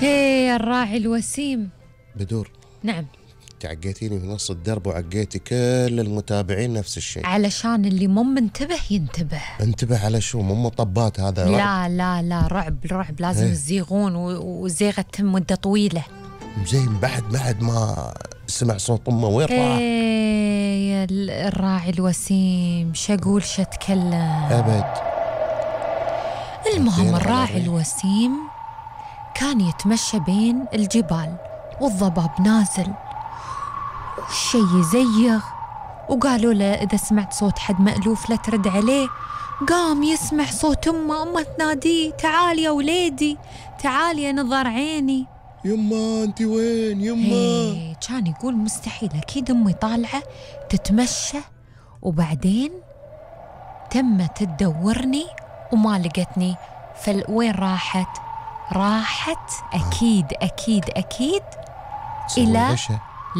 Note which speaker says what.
Speaker 1: ايه الراعي الوسيم.
Speaker 2: بدور.
Speaker 1: نعم.
Speaker 2: تعقيتيني في نص الدرب وعقيتي كل المتابعين نفس الشيء.
Speaker 1: علشان اللي مو منتبه ينتبه.
Speaker 2: انتبه على شو؟ مو مطبات هذا؟
Speaker 1: لا لا لا، رعب لازم يزيغون وزيغة تتم مدة طويلة.
Speaker 2: زين بعد ما سمع صوت امه وين راح؟
Speaker 1: ايه الراعي الوسيم، شقول شتكلم
Speaker 2: ابد.
Speaker 1: المهم الراعي الوسيم كان يتمشى بين الجبال والضباب نازل والشي يزيغ، وقالوا له إذا سمعت صوت حد مألوف لا ترد عليه. قام يسمع صوت أمه تناديه تعالي يا وليدي تعالي يا نظر عيني.
Speaker 2: يما أنت وين يما؟
Speaker 1: كان يقول مستحيل أكيد أمي طالعة تتمشى وبعدين تمت تدورني وما لقتني. وين راحت أكيد إلى